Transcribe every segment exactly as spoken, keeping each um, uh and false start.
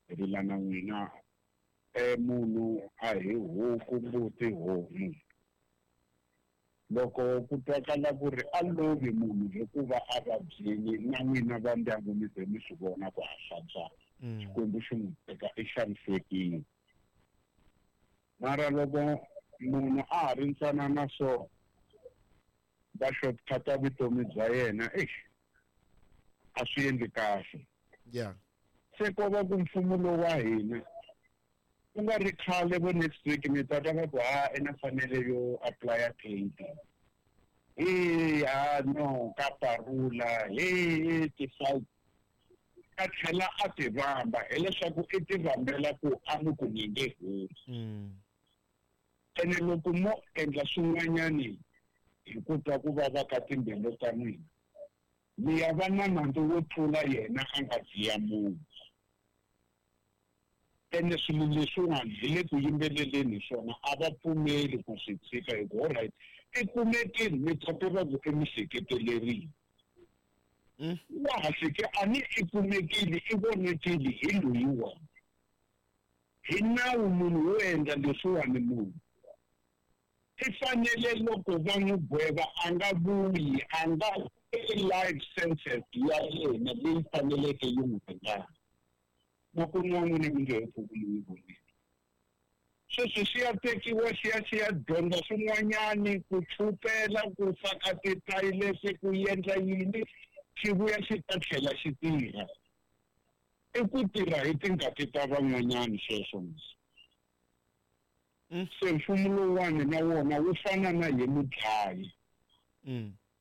Hi rila na n'wina. E munhu a hi huku mbuti homu. Loko ku twakala ku ri a lovi munhu hikuva a vabyini na n'wina va ndyangu mi ze mi swi vona ku a hlantswa. Xikwembu xi n'wi teka i xanisekile. Mara loko munhu a ha ri ntsanana so va shortcut-a vutomi bya yena, eish, a swi endli kahle. Yeah. Se ko va ku mfumo lowu wa hina ku nga ri khale vo next week mi ta twa va ku ha i na fanele yo apply-a painting. He ha no ka parula he ti-fight a tlhela a ti vamba hileswaku i ti vambela ku a mi ku ni nge humi. Ene loko mo endla swin'wanyani hi ku twa ku vava ka timbilu ta n'wina, mi ya va na nandzu wo tlula yena a nga dziya munhu. Ene swilo leswiwani hi le ku yimbeleleni hi swona a va pfumeli ku swi tshika hi ku alright i kumekile mi ta tiva ku i mi hleketelerile. Wa ha hleke a ni i kumekile i vonekile hi loyiwani. Hi nawu munhu wo endla leswiwani munhu i fanele loko va n'wi gweva a nga vuyi a nga life sentence ya yena leyi faneleke yi n'wi ringana. Makumu wa n'wina mi nge he pfuki mi n'wi vonile. Sweswi xi ya tekiwa xi ya xi ya dyondza swin'wanyani ku chupela ku faka tithayilese ku endla yini xi vuya xi ta tlhela xi tirha. I ku tirha hi tingati ta van'wanyani sweswo mos. Se mfumo lowuwani na wona wu fana na hi mudlayi.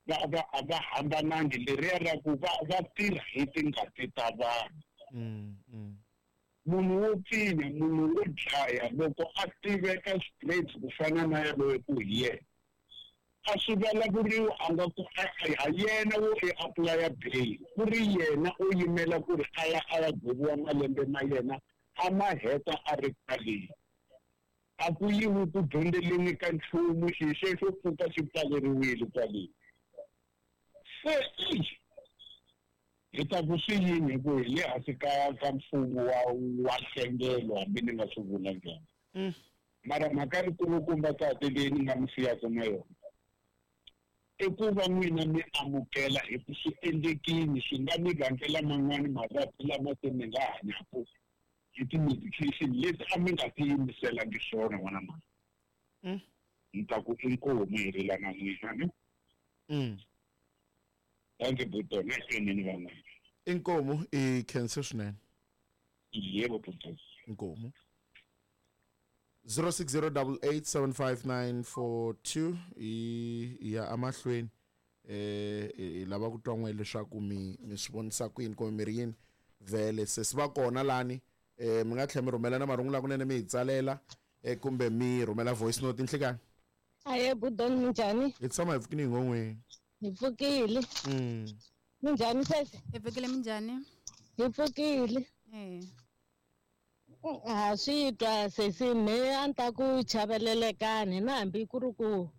Va va a va hambanangi leriya ra ku va va tirha hi tingati ta vanhu. Munhu wo pfinya, munhu wo dlaya loko a tiveka straight ku fana na yaloye ku hi yena a swi vulavuriwi a nga ku a yena wo i apply-a bail ku ri yena u yimela ku ri a ya a ya gweviwa malembe ma yena a ma heta a ri kwaleni. A ku yiwi ku dyondzeleni ka nchumu xi xexo pfuka xi pfaleriwile kwaleni. Se hi ta ku swi yini hi ku hi le hansi ka ka mfumo wa wa nhlengelo hambi ni nga swi vula njhani. Mara mhaka yikulukumba tate leyi ni nga mi siyaka na yona i ku va n'wina mi amukela hi ku swi endlekile swi nga mi vangela man'wani mavabyi lama se mi nga hanyaka hi ti-medication leti a mi nga tiyimiselangi swona n'wana mhani. Ni ta ku inkomu hi rila na n'wina ne. Thank you Buto, ni van'wana. Inkomu i khense swinene. Yebo Buto. Inkomu. zero six zero double eight seven five nine four two i ya amahlweni eh hi lava ku twa n'we leswaku mi mi swi vonisa ku yini kumbe mi ri yini vhele se swi va kona lani eh mi nga tlhela mi rhumela na marungula kunene mi hi tsalela eh kumbe mi rhumela voice note nhlikani. Aye Budon minjhani? Hi tshama hi pfukile hi ngon'weni. Hi pfukile. Mm. Minjhani sesi? Hi pfukile minjhani? Hi pfukile. Eh. Ha swi twa sesi me a ni ta ku chavelelekani na hambi ku ri ku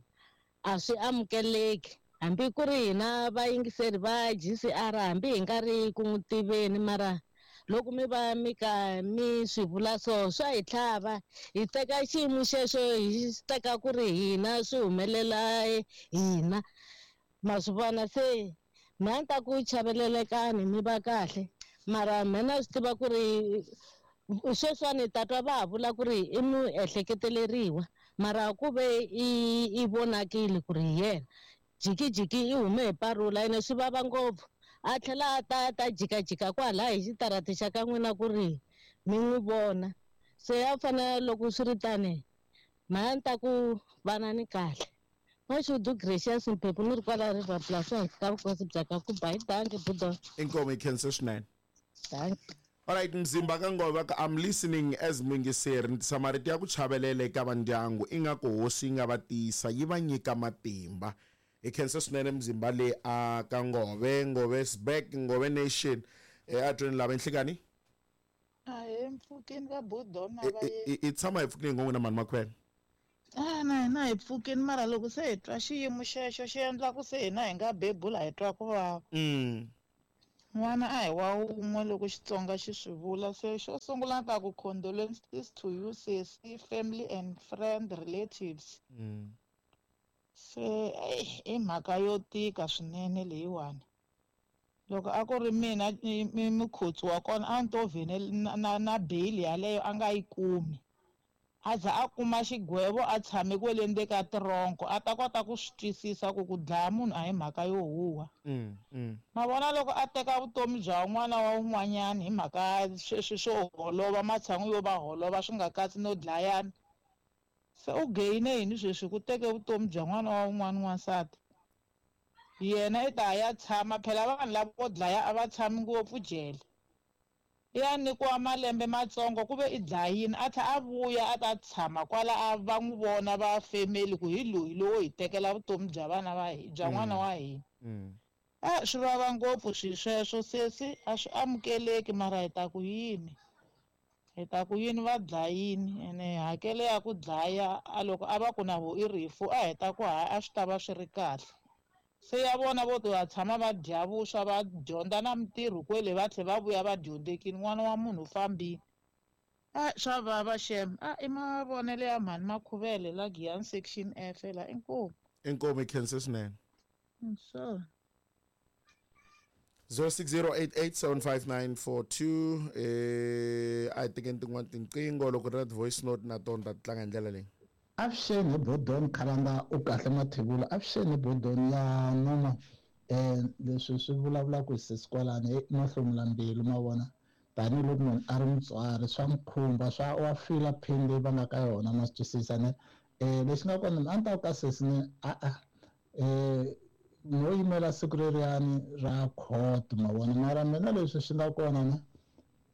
a swi amukeleki hambi ku ri hina vayingiseri va G C R hambi hi nga ri ku n'wi tiveni mara loko mi va mi ka mi swi vula so swa hi tlhava hi teka xiyimo xexo hi teka ku ri hina swi humelela hina ma swi vona se me a ni ta ku chavelelekani mi va kahle mara mina swi tiva ku ri sweswiwani ta twa va ha vula ku ri i muehleketeleriwa mara ku ve i i vonakile ku ri hi yena jikijiki i hume hi parula ene swi vava ngopfu a tlhela a ta ta jikajika kwalaya hi xitarati xa ka n'wina ku ri mi n'wi vona se ya fanele loko swi ri tani mhani ni ta ku vana ni kahle Mashudu Gracious Mphephu ni ri kwala River Bluff ehansi ka vukosi bya ka Kuba hi danki Budon. Inkomu hi khense swinene. Danki. Alright Mzimba ka Ngova ka I'm listening as muyingiseri ni tisa marito ya ku chavelela eka vandyangu ingaku hosi yi nga va tiyisa yi va nyika matimba. Hi khensa swinene Mzimba le a ka Ngove, Ngove is back, Ngove Nation. Eh a twini lava nhlikani? Ahe mpfukeni ka Budon na va ye. I tshama hi pfukile ngopfu na mani makhwena. Ah na hina hi pfukeni mara loko se hi twa xiyimo xexo xi endla ku se hina hi nga bebula hi twa ku vava. Mm. N'wana a hi wa wun'we loko Xitsonga xi swi vula. Se xo sungula ni ta ku condolences to you sesi, family and friend, relatives. Mm. Se eyi i mhaka yo tika swinene leyiwani. Loko a ku ri mina mi mukhotsi wa kona a ni to vhene na, na, na bail yaleyo a nga yi kumi. A za a kuma xigwevo a tshame kwele ndzeni ka tironko a ta kota ku swi twisisa ku ku dlaya munhu a hi mhaka yo huha. Mm, mm. Ma vona loko a teka vutomi bya un'wana wa un'wanyana hi mhaka sweswi swo holova matshan'wi yo va holova swi nga katsi no dlayana. Se u gain-e yini sweswi ku teke vutomi bya n'wana wa un'wana n'wansati? Yena i ta ya tshama phela vanhu lavo dlaya a va tshami ngopfu jele. I ya nyikiwa malembe matsongo ku ve i dlayini a tlhela a vuya a ta tshama kwala a va n'wi vona va family ku hi loyi lowo hi tekela vutomi bya vana va hi bya n'wana wa hina. Mm. A swi vava ngopfu swilo sweswo sesi, a swi amukeleki mara hi ta ku yini? Hi ta ku yini va dlayini ene hakelo ya ku dlaya a loko a va ku na vo i rifu a hi ta ku hayi a swi ta va swi ri kahle. Se ya vona vo to ya tshama va dya vuswa va dyondza na mintirho kwele va tlhela va vuya va dyondzekile n'wana wa munhu u fambile. A swa vava xem. A i mavonelo ya mhani Makhuvele la Giyani section F la inkomu. Inkomu i khense swinene. Sure. zero six zero eight eight seven five nine four two eh a hi tekeni tin'wana tinqingho loko ri na voice note na tona ta tlanga hi ndlela leyi. Avuxeni hi Bodon Khalanga u kahle Mathebula. Avuxeni hi Bodon ya noma eh leswi swi vulavulaka hi sesi kwalani i mahlomula mbilu ma vona tanihiloko munhu a ri mutswari swa n'wi khumba swa wa fila pain leyi va nga ka yona ma swi twisisa ne eh lexi nga kona a ni ta ku ka sesi ne a-a eh no yimela siku leriyani ra court ma vona mara mina leswi swi nga kona ne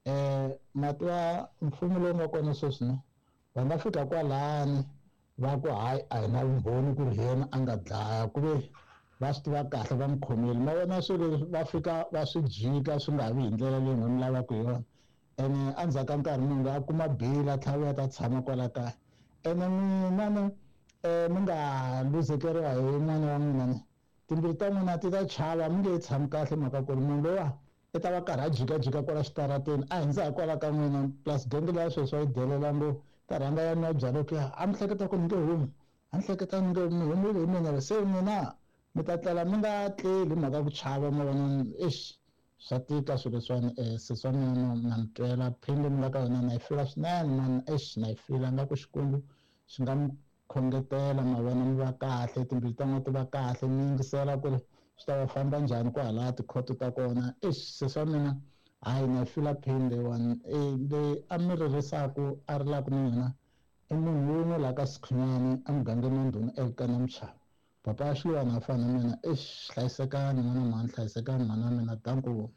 eh matwa mfumo lowu nga kona sweswi ne va nga fika kwalani va ku hayi a hi na vumbhoni ku ri yena a nga dlaya ku ve va swi tiva kahle va n'wi khomile ma vona swilo leswi va fika va swi jika swi nga vi hi ndlela leyi n'wi lavaka hi yona ene endzhaku ka nkarhi munhu a kuma bail a tlhela vuya ta tshama kwala kaya ene n'wina ne um mi nga luzekeriwa hi n'wana wa n'wina ne timbilu ta n'wina ti ta chava mi nge tshami kahle mhaka ku ri munhu lowa i ta va karhi a jikajika kwala xitarateni a hindza hi kwala ka n'wina plus genge leya sweswi va yi delela ngopfu ta rhanga ya nwa byalwa ku ya a mi hleketa ku ni nge humi a ni hleketa ni nge mi humile hi mina se n'wina mi ta tlela mi nga tleli mhaka ku chava ma vona eish swa tika swilo leswiwani um sesi wa mina na mi twela pain leyi mi nga ka yona na yi fila swinene mani eish na yi fila nga ku Xikwembu xi nga mi khongetela ma vona mi va kahle timbilu ta n'wina ti va kahle mi yingisela ku ri swi ta va famba njhani kwahalaya tikhoto ta kona eish sesi wa mina hayi na yi fila pain leyiwani leyi a mi ririsaku a rilaka na yona i munhu wun'we laha ka Sikhunyani emugangeni wa Ndhuna Elkana Mchava papa ya Xiluwana a fana na mina eish hlayisekani n'wana mhani hlayisekani mhani wa mina danko.